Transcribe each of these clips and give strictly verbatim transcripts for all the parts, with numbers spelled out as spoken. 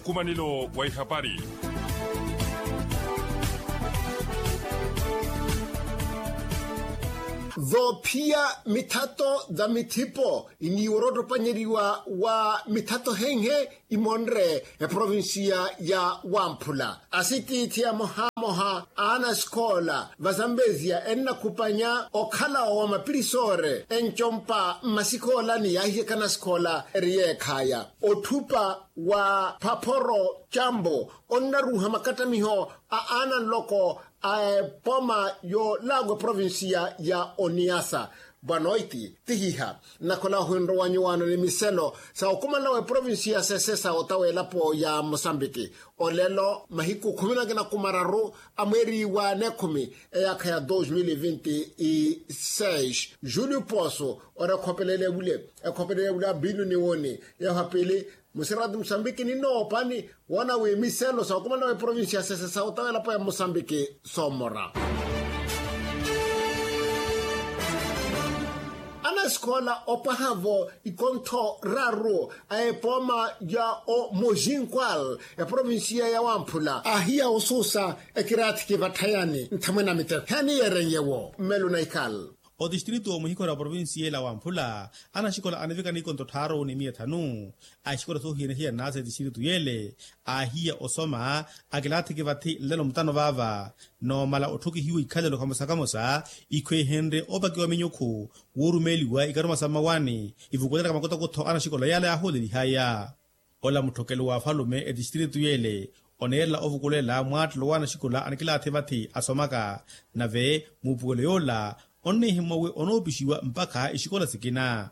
Nkumanelo wa ihapari. Voophiya mithato va mithipo iniiwa oroottopanyeriwa wa mithato henhe imonre eprovinsiya ya wamphula asitiithi amohamoha a anasikoola va zambezia ennakhupanya okhalawo wa mapirisoore encompa mmasikoolani yaahiyaka anasikoola eri yeekhaya otthupa wa phaphoro cambo onnaruuha makattamiho a aananloko a epoma yoolaagwa eprovinsiya ya oniasa. Bwanoiti tihiha nnakhola ohwinrowa nyuwaano ni miselo sa okumanela wa eprovinsiya sesesa ota w'elapo ya mosambiki olelo mahiku khumi na kinakuma araru a mweeri wa nekhumi eyaakha ya dos mil e vinti e seis. Julio poso ora ekhopelele evule ekhopelele evule abilu ni woni. Yaha pili musirati musambiki ninoopani woona wi miselo sa okumana w'eprovinsi ya sese sa otawelapo ya musambiki soomora. Anasikoola opwaha-vo ikontho raru a epooma ya omozinkwal eprovinsiya ya wamphula ahiya osuusa ekiraathiki vatthayani nthamwene a miteko heni yeerenyewo mmelo na ikal. Otistritu omuhikhora wa provinsi yeela wamphula anaxikola anivika nikontto tthaaru ni miya thanu. Axikola soohiyana-hiyana sa etistritu yeele aahiya osoma akilaathiki vathi nlelo mutano vaava. Noomala otthukihiwa ikhalelo kamosa-kamosa ikhwehenrye opakiwa minyukhu woorumeeliwa ikaruma sa mmawaani ivukulela ka makutakutho anaxikola yaala yaahoolelihaya. Ola mutthokelo wa afalume etistritu yeele oneerela ovukulela mwaattelo wa anaxikola anikilaathi vathi asomaka. Nave muupukelo yoola onnihimmwa wi onoopixiwa mpakha ixikola sikina.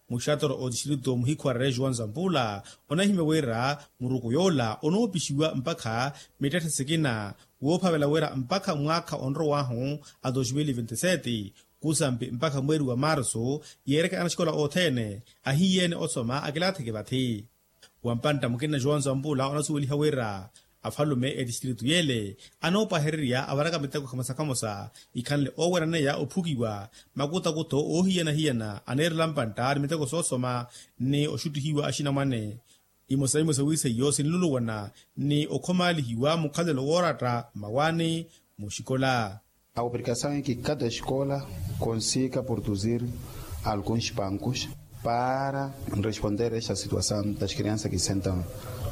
Muxatoro otistritu muhikhwarerya joão zampula onahimya wira muruku yoola onoopixiwa mpakha mittetthe sikina woophavela wira mpakha mwaakha onrow'ahu a dos mil e vinti sete kusampi mpakha mweeri wa marsu yeereke anaxikola othene ahiyeene osoma akilaatheke vathi. Wampantta mukina joão zampula onasuweliha wira afalume etistritu yeele anoopwahererya avaraka miteko khamosa-khamosa ikhanle ooweraneya ophukiwa makutakutho oohiyana-hiyana aneerela mpantta ni miteko soosoma ni oxuttihiwa axinamwane. Imosa-imosa wiiseiyo sinluluwana ni okhomaalihiwa mukhalelo wooratta mmawaani muxikola. A obrigação é que cada escola consiga produzir alguns bancos para responder esta situação das crianças que sentam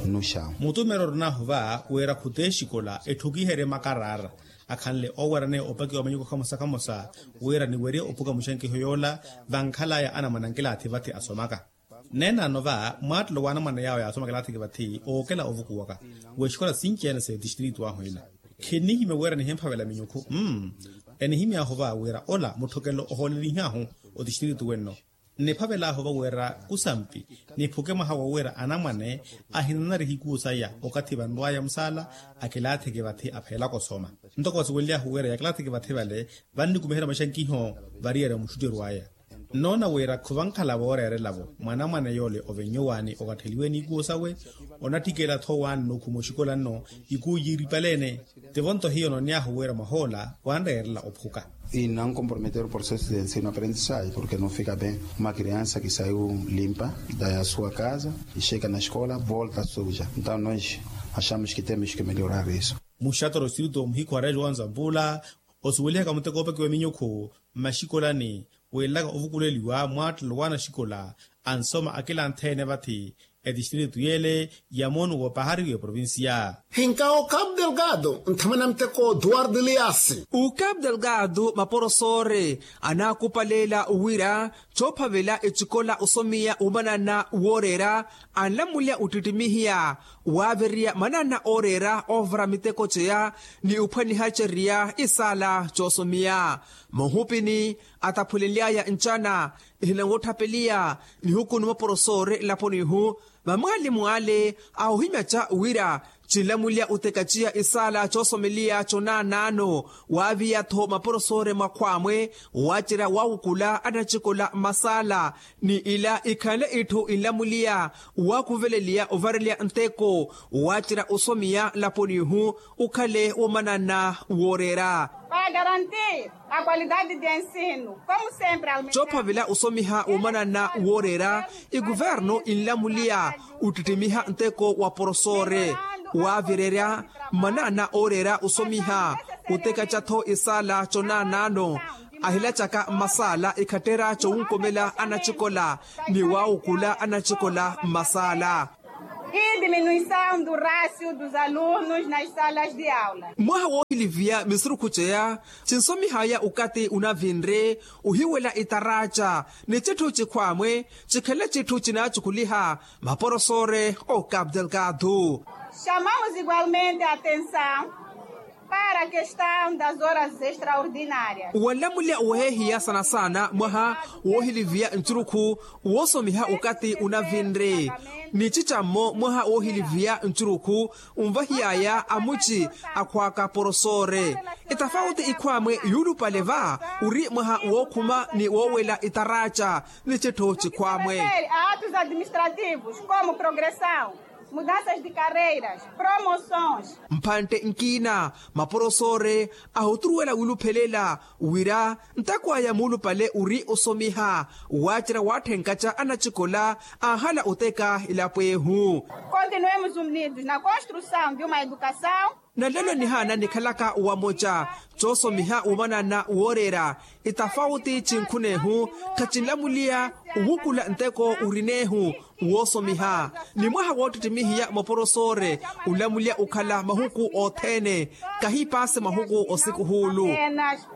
no chão. Mutumero orinahu va wira khuti exikola etthukiheriye makaraara akhanle ooweraneya opakiwa minyuko khamosa-khamosa wira niwerye ophuka muxankiho yoola vankhalaya anamwane ankilaathi vathi asomaka. Neenano va mwaattelo wa anamwane yaawo yaasoma akilaathiki vathi ookela ovukuwaka w'exikola sinci-ene s'etistritu ahu ila. Khinihimya wira nihimphavela minyukhu mm enihimy'ahu va wira ola mutthokelo ohoolelih'ahu otistritu wenno. Niphavel'ahu va wira kusampi niphuke mwaha wa wira anamwane ahinanariha ikuu saya okathi vanrw'aya musaala akilaathiki vathi apheelaka osoma. Ntoko vasuwelely'ahu wira yakilaathiki vathi vale vannikumiherya maxankiho variyari omuxuttiru aya. Nnoona wira khuvankhala vooreerela-vo mwanamwane yoole ovennyuwaani okatteliwe n'ikuwo sawe onatthikela-tho waani n'ukhuma oxikola nno ikuwo yiiripale-ene. Tivo-nto hiyo noony'ahu wira mwah'ola wanreerela ophuka. E não comprometer o processo de ensino aprendizagem porque não fica bem uma criança que saiu limpa da sua casa e chega na escola volta suja. Então nós achamos que temos que melhorar isso. Muxatoro sirito muhikhwarejo wa nzampula osuwelihaka muteko oopakiwa minyukhu mmaxikolani weelaka ovukuleliwa mwaattelo wa anaxikola ansoma akilanthe-ene vathi etistritu yeele ya moonu woopahariwa eprovincia. Hinka o cabo delgado nthamana muteko duwardo eliasi. O cabo delgado maporosoore anaakupaleela wira coophavela ecikola osomiya omanana wooreera anlamulya ottittimihiya waaviriya manana ooreera oovara miteko ceya ni ophwaniha ceriya isaala coosomiya. Muhupini ataphulenly'aya ncana ehinanwotthapeliya nihuku ni maporosoore nlaponi-hu. Mamwaalimu ale ahohimyaca wira Cinlamulya utekaciya isaala coosomeliya conaanaano, waaviya-tho maporosore mwakhwaamwe, waacerya waawukula anacikola mmasaala. Ni ila ikhanle itthu inlamuliya, waakhuveleliya ovareliya nteko, waacerya osomiya nlaponi-ihu, ukhale womanana wooreera. Para garantir a qualidade de ensino, como sempre, aumentar. Coophavela osomiha womanana wooreera, ikuvernu inlamuliya uttittimiha nteko wa porosore, waavirerya manaana ooreera osomiha, utekaca-tho isaala conaanaano, ahilacaka mmasaala ikhattera cowunkomela anacikola, ni waawukula anacikola mmasaala. E diminuição do rácio dos alunos nas salas de aula. Mwaha woohiliviya misurukhu ceya, cinsomihaya ukati unavinre, uhiwela itaraca ni citthu cikhwaamwe, cikhale citthu cinaacukuliha maporosore o Cabo Delgado. Chamamos igualmente a atenção para a questão das horas extraordinárias. Wanlamulya wehehiya sana-sana mwaha woohiliviya ncurukhu woosomiha ukati unavinre, ni cicammo mwaha woohiliviya ncurukhu unvahiyaya amuci akhwaaka porosore. Itafauti ikhwaamwe yuulupale va uri mwaha wookhuma ni woowela itaraca ni citthu cikhwaamwe. A atos administrativos como progressão, mudanças de carreiras, promoções. Mphantte nkiina maporosore ahuturuwela wiiluphelela wira nteko aya muulupale uri osomiha, waacerya waatthenkaca anacikola anhala oteka elapo ehu. Continuemos unidos na construção de uma educação. Nalelo nihaana nikhalaka wamoca coosomiha womanana wooreera itafauti cinkhunehu, khacinlamuliya uwukula nteko urinehu woosomiha. Ni mwaha woottittimihiya maporosore unlamuliya ukhala mahuku othene, kahipaase mahuku osikuhuulu.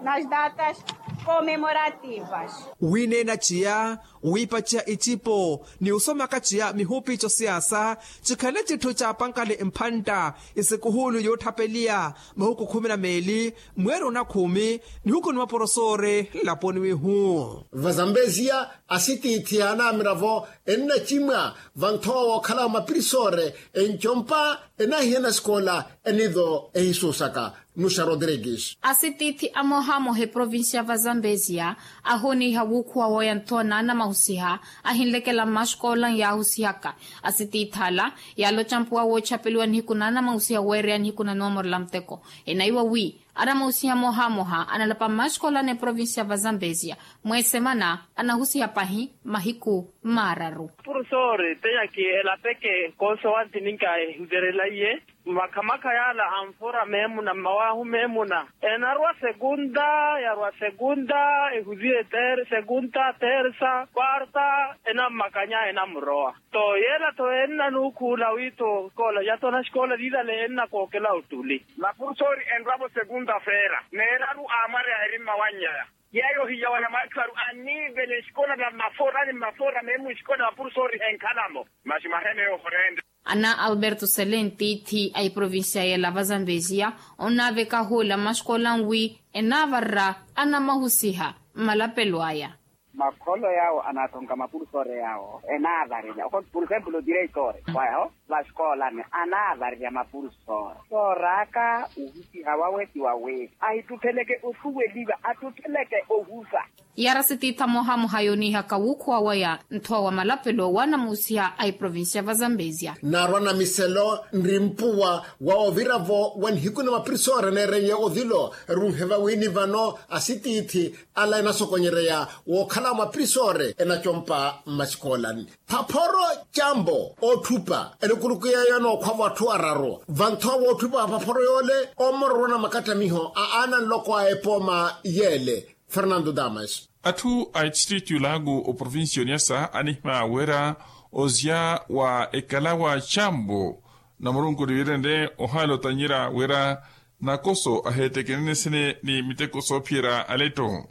Nas datas comemorativas. Wiineena ciya, wiipaciya icipo ni osomaka ciya mihupi cosiyaasa, cikhale citthu caapankale mphantta isikuhuulu yootthapelia mahuku khumi na meeli, mweeri onakhumi nihuku ni maporosore nlaponi wihu. Vazambezia asitiithi anaamira-vo ennacimwa vanthowa wookhala mapirisore, encompa enahiyana sikola enivo ehisuusaka. Nuxa rodrigues. Asitiithi amohamoha eprovincia va zambezia ahoniiha wuukhuwa waya nthowa naana mahusiha, ahinlekela mmaxikola yaahusihaka. Asitiithi ala yaaloca mpuwa woochapeliwa nihiku naana mahusiha weereya nihiku na noomorela muteko. Enaiwa wi anamahusiha amohamoha analapa mmaxikola n'eprovincia va zambezia, mweesemana anahusiha pahi mahiku maararu. Purusori teyaki elapeke koosowanti ninka ehuterelaiye. Makhamakha yaala anfura meemuna mmawaahu meemuna, enarwa segunda yarwa segunda ehuziye segunda tersa kwarta, enammakanya enamurowa. To yeela to ennanuukhuula wi to sikoola yato na sikoola liilale ennakookela ottuli. Mapurusori enrwa-vo segunda feera neeraru aamwareya eri mmawannyaya. Yeeyo ohiya wa namwatthu aru anniivele nsikona na mmafoora ni mmafoora meemu nsikona mapurusori henkhala-mo. Masi mwaheneya ohoreenta. Ana alberto selen tiithi a iprovincia yeela va zambezia onnaaveka ahuula mmaxikola nwi enaavarera anamahusiha mmalapelo aya. Makholo yaawo anaathonka mapurusori yaawo enaavarerya oko purusempulu direitore wayaho. Vaxikoolani anaavarerya mapurusori sooraaka ohusiha wawe ti wawe ahittutteleke osuweliva attutteleke ohusa. Yaara sitiitha moohamoha yooniihaka wuukhuwa waya nthowa wa malapelo waanamuhusiha a iprovincia va zambezia. Naarwa namiselo nri mpuwa wa ovira-vo wa nihiku na mapirisore neerenye ovilo runhe vawiini vano asitiithi ala enasokonyereya wookhala mapirisore enacompa mmasikoolani. Phaphoro cambo otthupa enikuluku yeeyo enookhwavo atthu araru vanthowa wootthupa wa phaphoro yoole omororwa na makattamiho a aana nloko a epooma yeele. Fernando damas. Atthu a etistritu yulaaku oprovincia oniyasa anihimya wira ozya wa ekalawa cambo na murunku niwiirenle ohaala otanyira wira nakoso aheetekenene sene ni miteko soophiyerya aletto.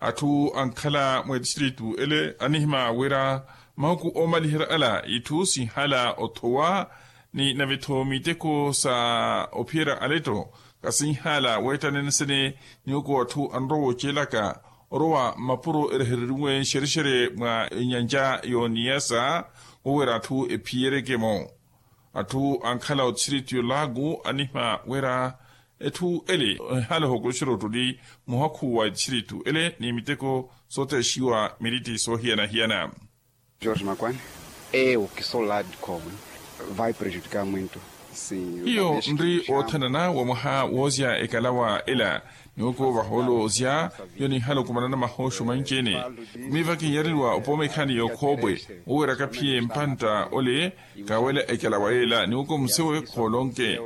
Atthu ankhala mweetistritu ele anihimya wira mahuku oomaliherya ala itthu sinhala othowa ni nave-tho miteko sa ophiyerya aletto kasinhala weetta nenesene. Ni oko atthu anrowa oceelaka orowa mmapuro erehereriwe nxerexere mwa enyanja y'oniyasa wowera atthu ephiyereke-mo. Atthu ankhala otthiritu yolaaku anihimya wira etthu ele ehala ohokoxera ottuli muhakhu wa etthu ele ni miteko sootexiwa miritti soohiyana-hiyana. Jorge makwane, eu ki sou lado de cobre, vai prejudicar muito. Hiyo nri oothanana wa mwaha woozya ekalawa ela, niwoko vahoolo ozya hiyo nihala okumanana mahooxo manci-ene. Miiva kinyarirwa opooma ekhani y'okhoopwe, oweraka phiye mpantta ole kaawela ekalawa yeela niwoko musewe khoolonke.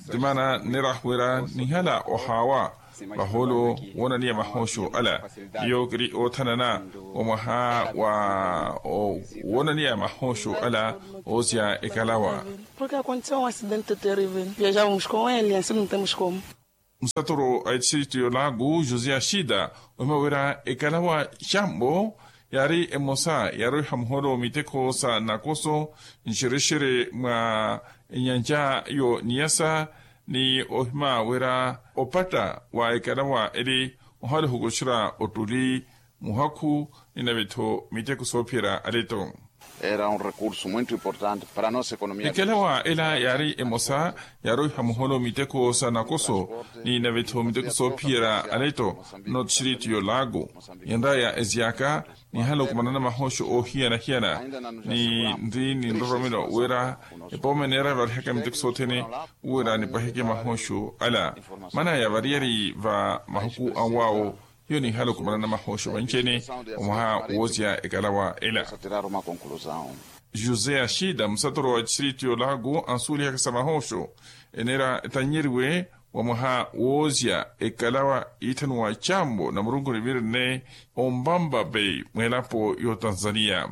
Ntimaana nneerahu wira nihala ohaawa vahoolo woonaniya mahooxo ala. Hiyo kiri oothanana wa mwaha wa woonaniya mahooxo ala oozya ekalawa. Porque akonteseu un acidente terrivel viajávamos com ele ansi no temos como. Musatoro a etthiritu yolaaku josé axida ohimya wira ekalawa xambo yaari emosa yaaroiha muhoolo miteko sa nakoso nxerexere mwa enyanja yo niyasa. Ni ohimya wira opatta wa ekalawa ele ohala ohukoxera ottuli muhakhu ni navetho miteko soophiyerya aleto. Era un recurso muito importante para nossa economia. Ekalawa ela yaari emosa yaaroiha muhoolo miteko sa nakoso ni navetho miteko soophiyerya aleto. Notthiritu yolaaku yenraya ezyaka nihala okumanana mahooxo oohiyana-hiyana. Ni nri ni nroromelo wira epooma eneera evarihaka miteko sothene wira nipwaheke mahooxo ala. Maana yavariyari va mahuku anwaawo hiyo nihala okumanana mahooxo vanci-ene omwaha woozya ekalawa ela. José axida musatoro wa etthiritu yolaaku ansuwelihaka sa mahooxo eneera etannyeriwe wa mwaha woozya ekalawa iitthaniwa cambo na murunku ni virne ombamba bei mweelapo y'otanzaniya.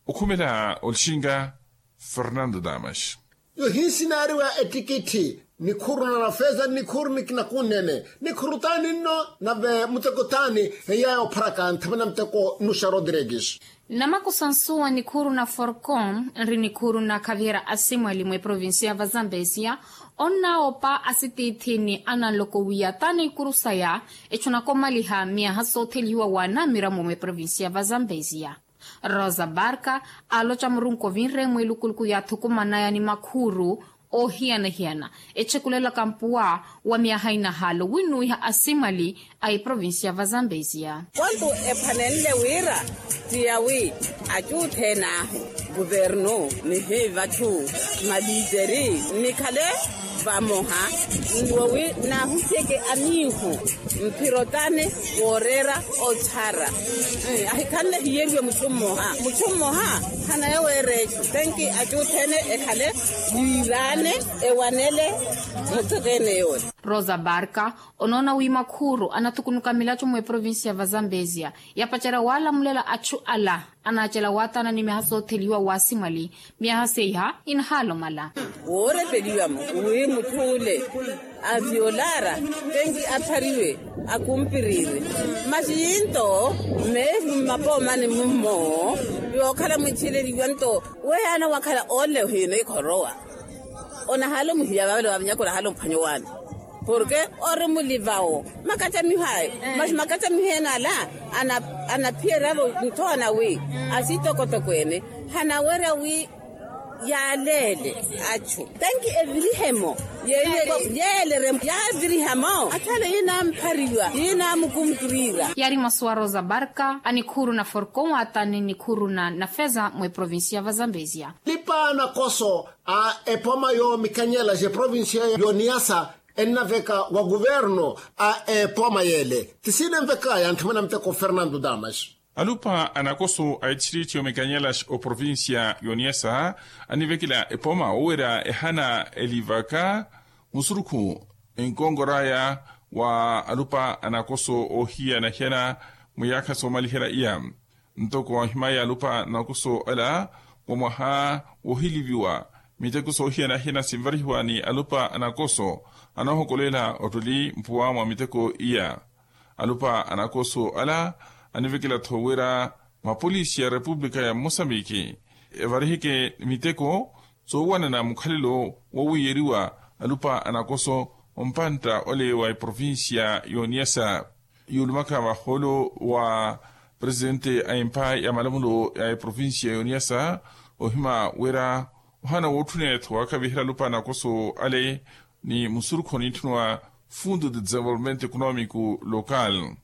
Okhumela olixinga fernando damas. Yohinsinaariwa ettikitthi nikhuru na nafeza nikhuru nikina kunnene nikhuru taani nno nave muteko taani. Eyaaya opharaka nthamana muteko nuxa rodrigues. Namakusa nsuwa nikhuru na forcom nri nikhuru na khaviyera asimwali mweprovincia va zambezia. Onnaawopa asitiithini ananloko wiya taani ikuru saya etthu nakomaliha miyaha sootheliwa wa namiramo mweprovincia va zambezia. Rosa barka aaloca murunku ovinre mwilukuluku yaathukumanaya ni makhuru oohiyana-hiyana etthekulela kampuwa wa myaha inahaalo winuwiha asimwali a eprovincia va zambezia. Kwantu ephanenle wira tiyawi acuuthene ahu guvernu nihiivatthu maliiteri nikhale vamoha nwowi naahusyeke amiihu mphirotane wooreera ochara. Ahikhanle hiyeriwe mutthu mmoha mutthu mmoha hanaye weereecu tenki acuuthene ekhale yiiraane ewanele mutthu tene yoole. Rosa barka onoona wi makhuru anathukunuka milaco mweprovincia va zambezia yapacerya waalamulela atthu ala anaacela waataana ni myaha sootheliwa waasimwali. Myaha seiha inahalomala woorepeliwa-mo wi mutth'ule aviolara tenki aphariwe akumpirire masi yinto meevi mmapoomani mummo yookhala mwitthiileliwa nto weyaana wakhala ole ohiina ikhorowa. Onahaala omuhiya vavale wa vinyaka onahaala omphwanya owaana porke ori mulivawo makacamiho ayo masi makacamiho ene ala anaphiyeravo nthoona wi asitokotoko ene hanawerya wi yaaleele achu tenki evirihemo yeele yeele yavirihamo athale yinamphariwa yinamukumpirira. Yaari masu a rosa barka a nikhuru na forcon waatani nikhuru na nafeza mweprovincia va zambezia. Alipa anakoso a epooma yoomikanyela ja eprovincia yoniyasa ennaveka wa kuverno a epooma yeele ti sinenvekaya ntthimana muteko fernando damas. Alupa anakoso a etthiritti yomikanyela oprovincia yoniyasa anivekela epooma wowerya ehana elivaka musurukhu enkonkoraya wa alupa anakoso oohiyana-hiyana mwiyaakha soomaliherya iya. Ntoko ohimaya alupa anakoso ala wa mwaha wohiliviwa miteko soohiyana-hiyana sinvarihiwa ni alupa anakoso anoohokolela ottuli mpuwa mwa miteko iya. Alupa anakoso ala anivekela-tho wira mapolisi a repupulika ya mosambiki evariheke miteko soowanana mukhalelo wowiiyeriwa alupa anakoso ompantta ole wa eprovincia yoniyasa. Yuulumaka vahoolo wa presidente a empa ya malamulo ya eprovincia yoniyasa ohima wira Ohana wootthuna etthu waakaviherya alupa anakoso ale ni musurukhu onitthuniwa fundo de desenvolvimento economico local.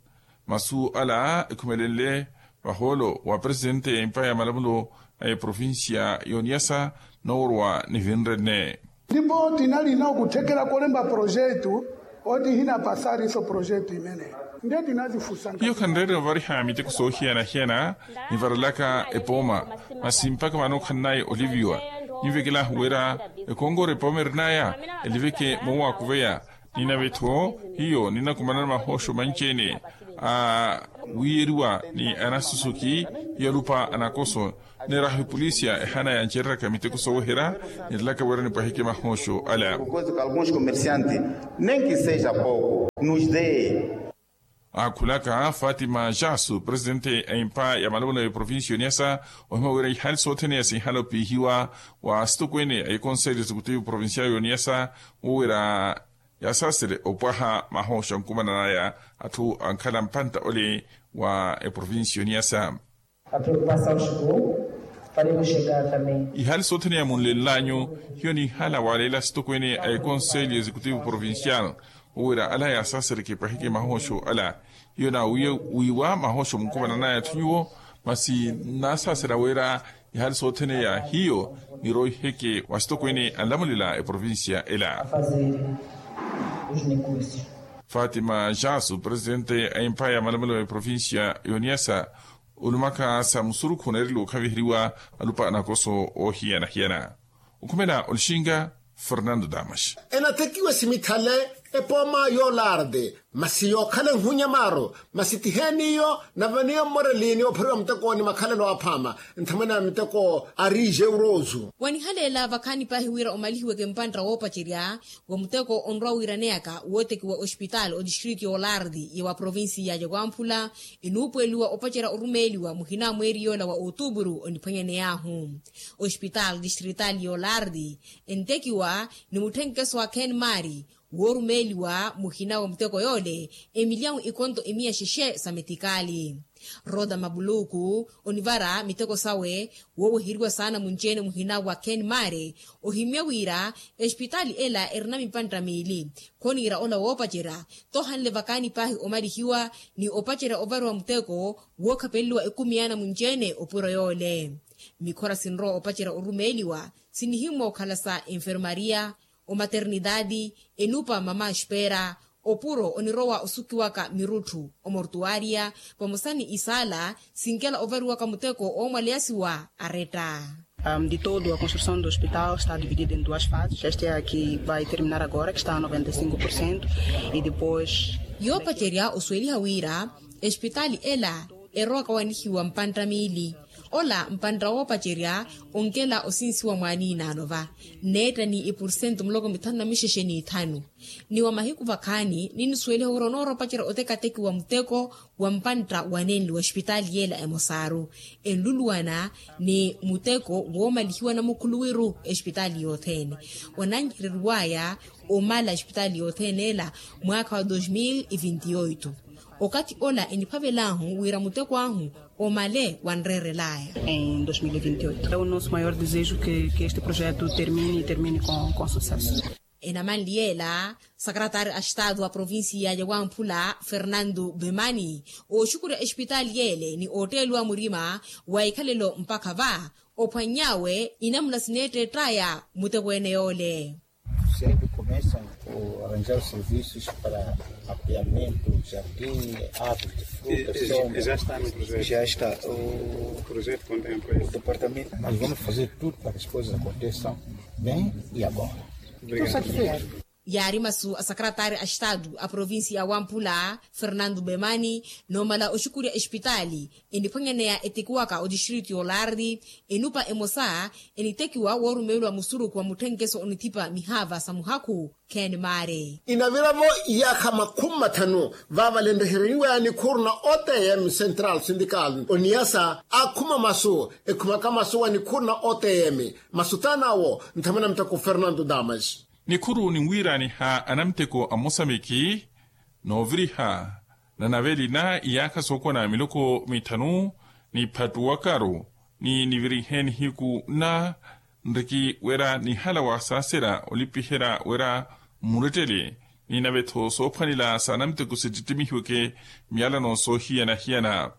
Masu ala ekhumelenle vahoolo wa presidente ya empa ya malamulo a eprovincia y'oniyasa nooworwa nivinrenne. Ndipo tinalina okutthekela kolemba projetu oti hinapasariso projetu imene nde tinazifusa. Hiyo khanreerya ovariha miteko soohiyana-hiyana nivarelaka epooma, masi mpakha vano khannayi oliviwa. Ninvekelahu wira ekongoro epooma erinaya eliveke moowakuveya. Ninave-tho hiyo ninakumanana mahoosho manci-ene a wiyeriwa ni anasusuki. Hiyo alupa anakoso neeraha epolisia ehana yancereryaka miteko sooweherya, nirelaka wira nipwahike mahoosho ala. Kozi ka alguns comerciantes nem que seja pouco nos dê. Aakhulaka fatima jasu presidente a empa ya malamulo ya provincia y'oniyasa, ohimya wira ihali sothene ya sinhala opihiwa wa asitokwene a ekonselho executivo provincial y'oniyasa, wo wira yasaasele opwaha mahoosho ankumananaya atthu ankhala mpantta ole wa eprovincia y'oniyasa. A preocupação chegou, faremos chegar também. Ihali sothene ya munlenlanyu hiyo nihala waleela asitokwene a ekonselho executivo provincial, wo wira ala yasasereke epwahike mahoosho ala. Hiyo naawiiwa mahoosho munkumananaya atthu nyuwo, masi nnasaasela wira ihali sothene ya hiyo niroiheke wa asitokwene anlamulela eprovincia ela. Fatima jasu presidente a empa ya malamulo ya eprovincia y'oniyasa, olumaka sa musurukhu oneereliwa okhaviheriwa alupa anakoso oohiyana-hiyana. Okhumela olixinga fernando damas. Enathekiwe simithale epooma yoolarde masi yookhala enhunya maaro, masi tiheeni iyo nave niyo mmoreliini ophariwa muteko ni makhalelo aphaama nthamwene a miteko ari jeurosu. Wanihaleela vakhaani paahi wira omalihiweke mpantta woopacerya wa muteko onrwa wiiraneyaka wootekiwa ospitaali otistritu yoolardi ya wa provinsi ya jawamphula, enuupuweliwa opacerya orumeeliwa muhina mweeri yoola wa otupuru oniphwanyaney'ahu. Ospitaali tistritaali yoolardi entekiwa ni mutthenkeso wa kenmari woorumeeliwa muhina wa muteko yoole emilyawu ikonto emiya xexe sa metikaali. Rota mabuluku onivara miteko sawe wooweheriwa saana munci-ene muhina wa kenmari, ohimya wira espitaali ela erina mipantta miili. Khoniira ola woopacerya tohanle vakaani paahi omalihiwa ni opacerya ovariwa muteko wookhapeleliwa ekumi yaana munci-ene opuro yoole. Mikhora sinrowa opacerya orumeeliwa sinihimmwa okhala sa enfermaria, omaternitaati, enupa mama espera, opuro onirowa osukiwaka mirutthu omortuaria vamosa ni isaala sinkela ovariwaka muteko oomwaleyasiwa aretta. De todo a construção do hospital está dividida em duas fases, esta é a que vai terminar agora que está a noventa e cinco por cento. E depois yoopacerya osuweliha wira espitaali ela erowaka wanihiwa mpantta miili. Ola mpantta woopacerya onkela osinsiwa mwaaniinaano va neetta ni epursentu muloko mithanu na mixexe n'ithanu. Ni wa mahiku vakhaani ninisuweliha wira onooropacerya otekatekiwa muteko wa mpantta wanenli wa espitaali yeela emosaaru enluluwana ni muteko woomalihiwa namukhuluwiru espitaali yothene wanancereriwaya omala espitaali yothene ela mwaakha wa dos mil e vinte e oito. Okathi ola eniphavel'ahu wira muteko ahu omale wanreerel'aya. Em dois mil e vinte e oito é o nosso maior desejo que este projeto termine e termine com sucesso. Enamanli yeela sakaratari a estado a provincia ya wamphula fernando bemani ooxukurya espitaali yeele ni ootteeliwa murima wa ikhalelo mpakha va ophwanny'awe inamuna sineettett'aya muteko ene yoole. Sempre começam a arranjar os serviços para apoiamento jardim, árvores de frutas, sombra. Já está o projeto contempla o departamento, nós vamos fazer tudo para que as coisas aconteçam bem e agora. Estou satisfeito. Yaari masu a sakaratari a estado a provincia ya wamphula fernando bemani noomala oxukurya espitaali eniphwanyaneya etekiwaka otistritu yoolardi enupa emosa enitekiwa woorumeeliwa musurukhu wa mutthenkeso onithipa mihaava sa muhakhu kenmari. Inavira-vo iyaakha makhumi mathanu vaavalenrehereriwaya nikhuru na otm central syndical oniyasa akhuma masu ekhumaka masu wa nikhuru na otm. Masu taan'awo nthamana muteko fernando damas. Nikhuru ninwiiraaniha anamuteko a mosambiki nooviriha nanaveli na iyaakha sookona miloko mithanu niphattuwakaru ni nivirihe nihiku na nriki wira nihala wa saasera olipiherya wira mmurettele ni nave-tho soophwanela s'anamuteko sittittimihiweke myalano soohiyana-hiyana.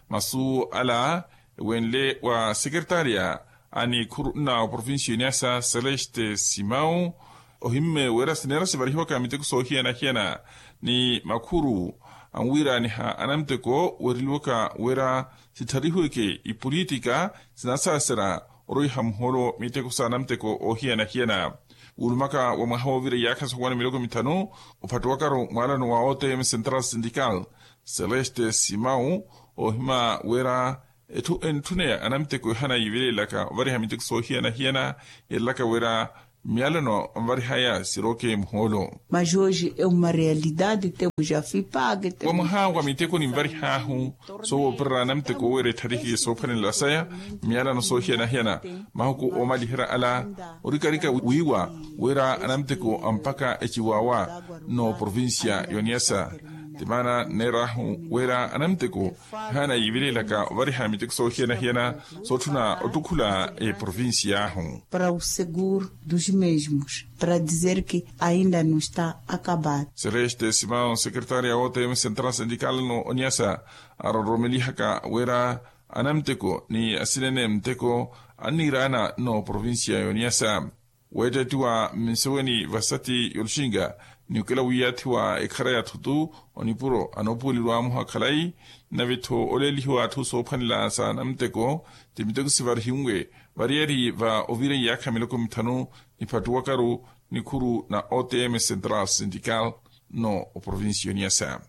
Masu ala ewenle wa sekeretaria a nikhuru nna oprovincia oniasa celeste simau ohimme wira sineera sivarihiwaka miteko soohiyana-hiyana ni makhuru anwiiraaniha anamuteko weereliwaka wira sittharihiweke ipolitika sinasaaserya orwiha muhoolo miteko s'anamuteko oohiyana-hiyana. Wuulumaka wa mwaha woovira iyaakha sookuwana miloko mithanu ophattuwakaru mwaalano wa otm central syndical celeste simau oohima wira etthu entthuneya anamuteko ehana yiivelelaka ovariha miteko soohiyana-hiyana yeerelaka wira myalano anvarihaya sirooke muhoolo. Majoji e uma realidade temu ja fipake wa mwaha wa miteko ninvarihaahu soowoopererya anamuteko wira ettharihiye soophwanela saya myalano soohiyana-hiyana mahuku oomaliherya ala orikarika wiiwa wira anamuteko ampaka eciwawa n'oprovincia y'oniasa. Ti maana nneeraahu wira anamuteko ehana yiivelelaka ovariha miteko soohiyana-hiyana sootthuna ottukhula eprovincia ahu para o seguro dos mesmos para dizer que ainda no está acabado. Celeste simao sekeretaria a otm central syndical no oniasa aroromelihaka wira anamuteko ni asinene muteko anniiraana n'oprovincia y'oniasa weettettiwa mminseweni vasati y'oluxinga ni okela wiiyathiwa ekhara ya thutu onipuro anoopuweleliwa amuha khalayi nave-tho oleelihiwa atthu soophwanela s'anamuteko ti miteko sivarihiwe variyari va ovira iyaakha miloko mithanu niphattuwakaru nikhuru na otm central syndical no oprovincia y'oniasa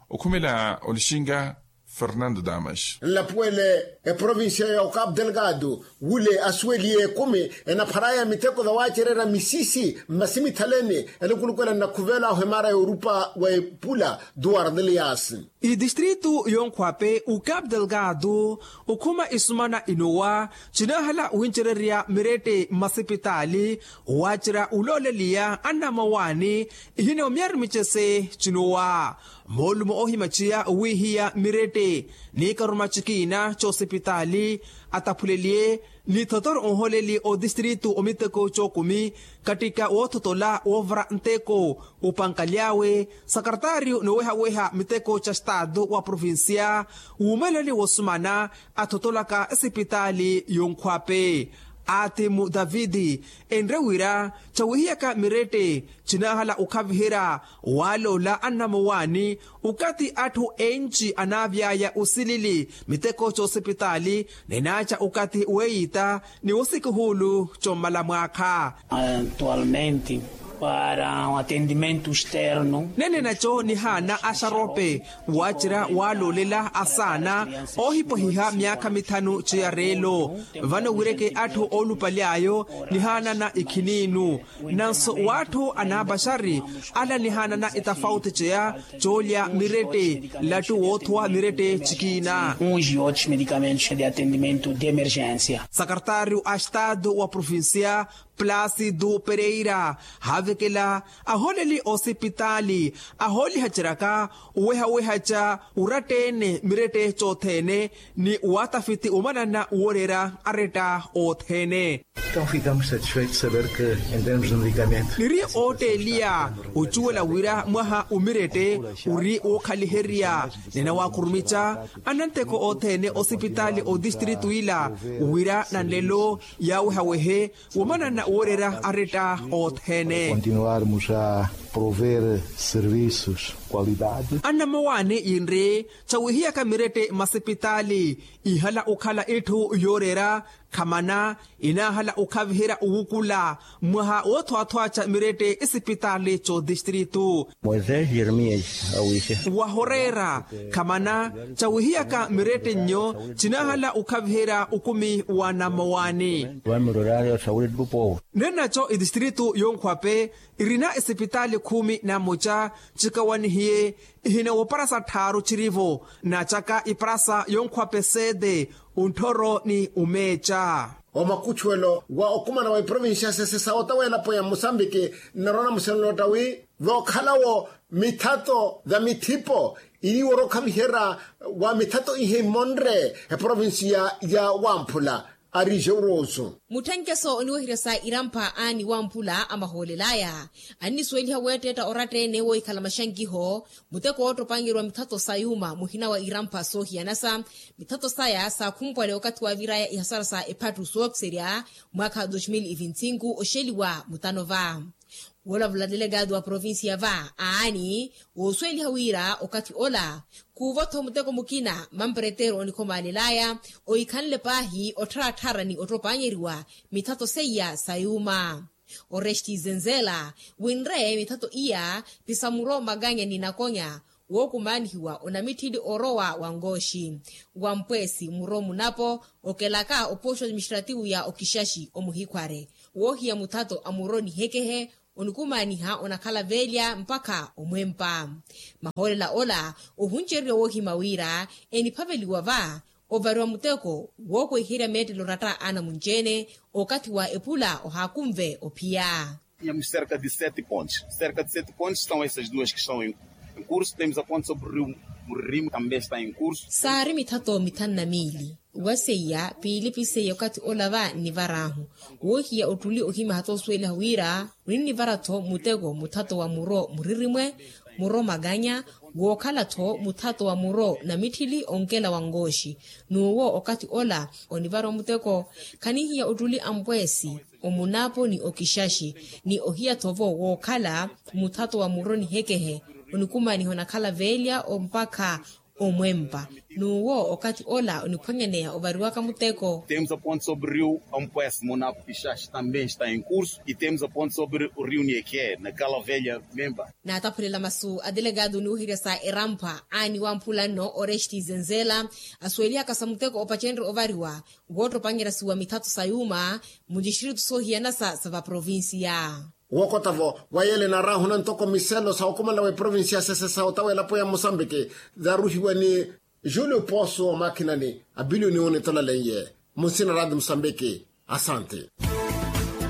okhumela olixinga fernando damas. Nlapuwele eprovincia ya ocapo delgado wule asuweliye ekumi enapharaya miteko vawaacererya misisi mmasi mithaleni elukulukwela nnakhuvela ohimaara y'orupa wa epula duwar delias. Idistritu yonkhwape ocapo delgado okhuma isumana inowa cinaahala wincererya mirette mmasipitaali owaacerya ulooleliya anna mmawaani ihina omyari micese cinowa moolumo oohimaciya owiihiya mirette ni karuma cikiina c'osipitaali ataphuleliye ni thotoro onhooleli otistritu omiteko c'okumi kattika woothotola woovara nteko opankali awe sakartaariyo noowehaweha miteko ca staatu wa provincia wuumeleli woosumana athotolaka esipitaali yonkhwape atimu davidi enre wira cawihiyaka mirette cinaahala okhaviherya waaloola annamowaani okathi atthu enci anaavy'aya osilili miteko c'osipitaali ninaaca okathi weeyitta ni wosikuhuulu commala mwaakha. Atualmente para atendimento externo nene naco nihaana axarope waacerya waaloolela asaana oohipwehiha myaakha mithanu ciyareelo vano wireke atthu oolupaly'ayo nihaanana ikhiniinu nanso w'atthu anaapaxari ala nihaanana itafauti ceya coolya mirette lattu woothuwa mirette cikiina. Uns e outros medicamentos de atendimento de emergência sakartaariyo a estatu wa provincia placido pereira haavekela ahooleli oosipitaali ahoolihaceryaka owehawehaca oratta-ene mirette c'othene ni waatafiti omanana wooreera aretta othene. Então ficamos satisfeitos de saber que em termos de medicamento niri ootteeliya ocuwela wira mwaha omirette ori wookhaliherya ninawaakhurumica ananteko othene osipitaali otistritu ila wira nanlelo yaawehawehe womanana wooreera aretta othene continuarmos a prover serviços qualidade. Annamowaani yinri cawihiyaka mirette masipitaali ihala okhala itthu yooreera khamana inaahala okhaviherya owukula mwaha woothwaathwaaca mirette isipitaali c'otistritu moisés jeremias awixe wahoreera khamana cawihiyaka mirette nnyo cinaahala okhaviherya okumi wa nammowaani wamiroraari osawulettupo ninaco itistritu yonkhwape irina esipitaali khumi na mmoca cikawanihiye ihina woparasa tthaaru cirivo naacaka iparasa yonkhwape seete ontthoro ni omeeca. Omakuchuwelo wa okumana wa iprovincia sese sa otawa elapo ya mosambiki nnarwa namusenela otta wi vookhalawo mithato va mithipo iriwo orokhaviherya wa mithato ihe imonre eprovincia ya wamphula Ari jeuroso. Mutthenkeso oniweherya sa irampha aani wamphula amahoolel'aya annisuweliha weetteetta oratta-ene woohikhala maxankiho. Muteko woottopanyeriwa mithato sa yuuma muhina wa irampha soohiyanasa. Mithato saya saakhumpwale okathi waavir'aya ihasara sa ephattu sookiserya mwaakha wa dos mil e vinte e cinco oxeliwa mutano va. Woolavula delegado wa provincia va aani woosuweliha wira okathi ola khuuvo-tho muteko mukina mampereteero onikhomalel'aya ohikhanle paahi ottharattharani ottopanyeriwa mithato seiya sa yuuma. Oresti zenzela winre mithato iya pisa muro maganya ni nakonya wookumaanihiwa onamitthili orowa wa nkooxi wa mpweesi muro munapo okelaka opooxo administrativo ya okixaxi omuhikhware woohiya muthato a muro nihekehe onikumaaniha onakhala veelya mpakha omwempa. Mahoolela ola ohunceriwa woohima wira eniphaveliwa va ovariwa muteko wookweherya meettelo oratta anamunci-ene okathi wa epula ohaakunve ophiya. Tínhamos cerca de sete pontes. Cerca de sete pontes estão essas duas que estão em curso. Temos a ponte sobre o rio Murrimo, também está em curso. Saari mithato mithanu na miili wa seiya piili piseiya okathi ola va nnivar'ahu woohiya ottuli ohimaha-tho osuweliha wira oninnivara-tho muteko muthato wa muro muririmwe muro makanya wookhala-tho muthato wa muro namitthili onkela wa nkooxi. N'uwo okathi ola onivariwa muteko khanihiya ottuli a mpweesi omunapo ni okixaxi ni ohiya-tho-vo wookhala muthato wa muro nihekehe onikumaaniha onakhala veelya mpakha omwempa. N'uwo okathi ola oniphwanyaneya ovariwaka muteko. Temos a ponte sobre o rio ampwes munapo kixaxi também está em curso e temos a ponte sobre o rio nieke na kala velha memba. Naataphulela masu a delegado oniweherya sa eramphwa aani wamphula nno oresti zenzela asuwelihaka sa muteko opacenrye ovariwa woottopanyerya suwa mithato sa yuuma mu distritu soohiyanasa sa vaprovincia. Wookota-vo wa yeele naarahuna ntoko miselo sa okumala wa eprovincia sese sa ota w'elapo ya musambiki zaruhiwa ni julio poso omakhinani abilioni onitolaleye munsina radi musambiki. Asante.